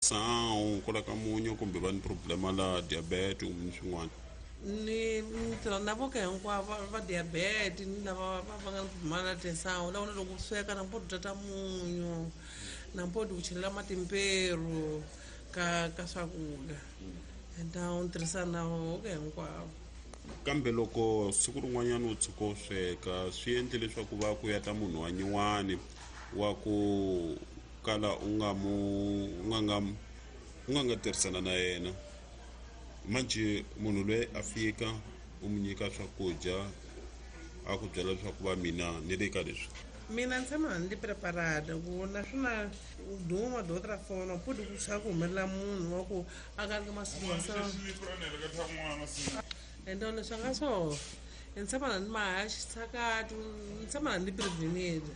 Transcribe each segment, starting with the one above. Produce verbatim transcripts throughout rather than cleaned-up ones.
tinsawu kwala ka munyu kumbe va ni problema la diabetes kumbe ni swin'wana. Ni ni tirha na voka hinkwavo va diabetes ni lava va va nga ni problema la tinsawu la vona loko u sweka na mpo tata munyu na mpo u chelela matimperu ka ka swakudya enta u tirhisana na voka hinkwavo. Kambe loko siku rin'wanyana u tshuka u sweka swi endle leswaku va ku ya ta munhu wa nyuwani wa ku kala u nga mu u nga nga u nga nga tirhisana na yena, manjhe munhu loyi a fika u mu nyika swakudya a ku byela leswaku va mina ni le ka leswi. Mina ni tshama ni preparada ku naswona duma dota fona pudi ku tsha ku humelela munhu wa ku a ka ri masiku wa sa ende leswi a nga swo ni tshama ni maha xitshakati ni tshama ni prevenile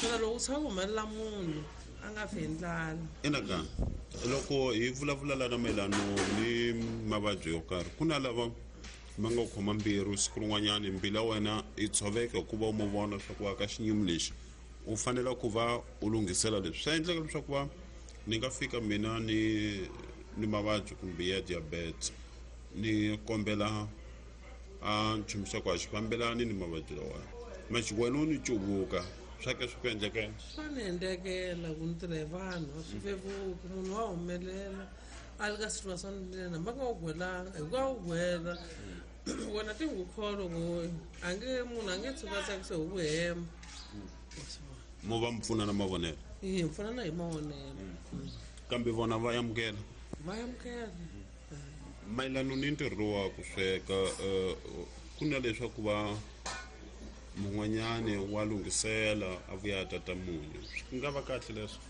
swona loko u tsha ku humelela munhu a nga fi hi ndlala. Enaka loko hi vulavula lana mayelano ni mavabyi yo karhi, ku na lava ma nga khoma mbilu siku rin'wanyani mbilu ya wena yi tshoveka hikuva u mu vona leswaku wa ka xinyimi lexi u fanele ku va u lunghisela leswi. Swa endleka leswaku va ni nga fika mina ni ni mavabyi kumbe ya diabetes ni kombela a nchumu xa ku a xi fambelani ni mavabyi lawa, manjhe wena u ni cuvuka swa ke swi ku endlekela. Swa ni endlekela ku ni tirha hi vanhu a swi vevuki, munhu wa humelela a le ka situation lena va nga wu gwelanga hi ku a wu gwela wena ti n'wi kholwa ku a nge munhu a nge tshuka a tsakisa hi ku hemba. Mo va mi pfuna na mavonelo? Hi pfuna na hi mavonelo. Kambe vona va amukela? Va amukela. Mayelano ni ntirho wa ku sweka, ku na leswaku va mun'wanyani wa lunghisela a vuya a tata munyu, swi nga va kahle leswo?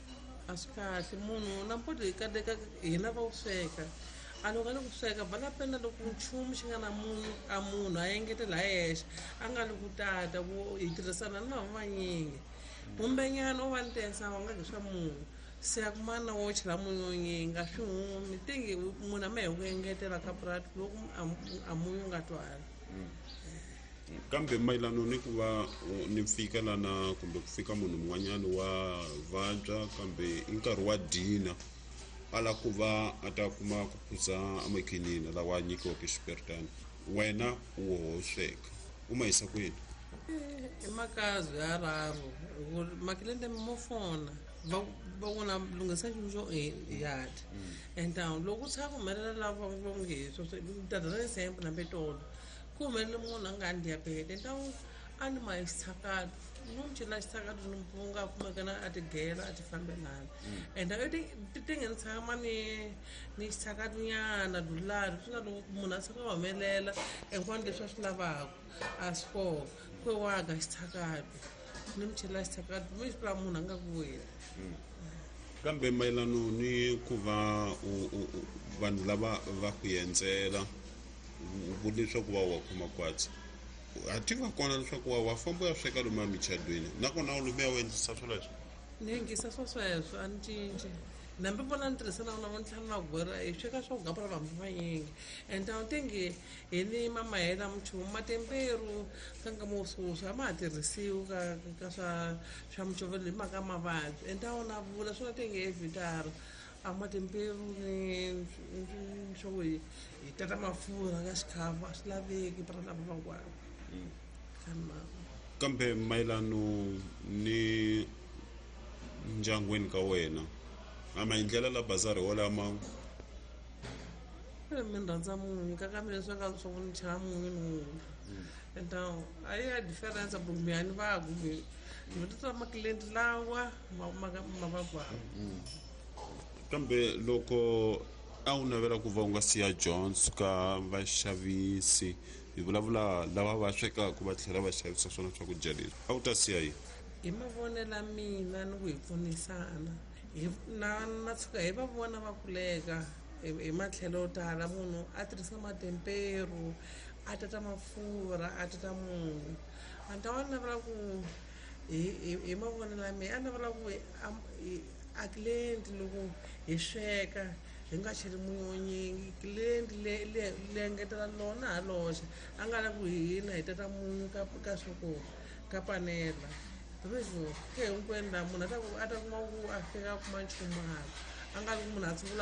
A swi kahle munhu na mpoto hi kateka hina va ku sweka a loko a le ku sweka va la penda loko nchumu xi nga na munyu a munhu a engetela hi yexe a nga li ku tata ku hi tirhisana ni vanhu vanyingi kumbenyana u va ni tensa wa nga swa munhu se a kuma na wo chela munyu nyingi a swi humi tingi munhu a ma hi ku engetela ka purati loko a munyu nga twali. Kambe mayelano ni ku va ni fika lana kumbe ku fika munhu un'wanyana wa vabya kambe i nkarhi wa dina a lava ku va a ta kuma ku phuza amakhinini lawa a nyikiweke xiperitani, wena u ho sweka u ma yisa kwini? I makazi ya raru makilende mo fona va va vona lunghisa nchumu xo ya dya and loko u tshama ku humelela lava va nge tata ra example hambi tolo ku humelele munhu a nga ni diabetes ntawu a ni ma xitshakati ni n'wi chela xitshakati ni mpunga kumeka na a tigela a ti fambelana and ti ti nge ni tshama ni ni xitshakati nyana dulari swi nga loko munhu a tshuka a humelela hinkwano leswi a swi lavaka a swi kona ku wa ga xitshakati ni mi chela xitshakati mi swi vula munhu a nga ku weli. Kambe mayelano ni ku va vanhu lava va ku endzela leswaku va wa khoma kwatsi a ti va kona leswaku wa wa famba u ya sweka lomu emichadweni nakona u lumiya u endlisa swoleswo? Ni endlisa swo sweswo a ni cinci nambi vona ni tirhisa na vona ni tlhela na gwera hi sweka swo gapura vanhu vanyingi and a tingi hi ni mamahela minchumu matemperu ka nkama wo sweswi a ma ha tirhisiwi ka ka swa swa micovelo hi mhaka mavabyi and a wona vula swona tingi evhitara a matimperu ni swo hi hi tata mafurha ka xikhafu a swi laveki para lava van'wana. Kambe mayelano ni ndyangwini ka wena a maendlelo la bazari wolama mi rhandza munyu ka kambe leswi nga swa ku ni chela munyu ni wun'we and a yi ya difference ku mi ni va ku mi ta makilenti lawa ma ma ma va kwawo. Kambe loko a wu navela ku va u nga siya Jones ka vaxavisi hi vulavula lava va swekaka va tlhela va xavisa swona swakudya leswi a wu ta siya yini? Hi mavonelo ya mina ni ku hi pfunisana hi na na tshuka hi va vona va kuleka hi matlhelo yo tala munhu a tirhisa matemperu a tata mafurha a tata munyu a ni ta va navela ku hi hi hi mavonelo ya mina a navela ku a client loko hi sweka hi nga cheli munyu wo nyingi client le le le engetela lona ha loxe a nga lavi ku hina hi tata munyu ka ka swa ka panela ke hinkwenu laha munhu a ta ku a ta kuma ku a fika a kuma nchumu hala a nga ri ku munhu a tshungula.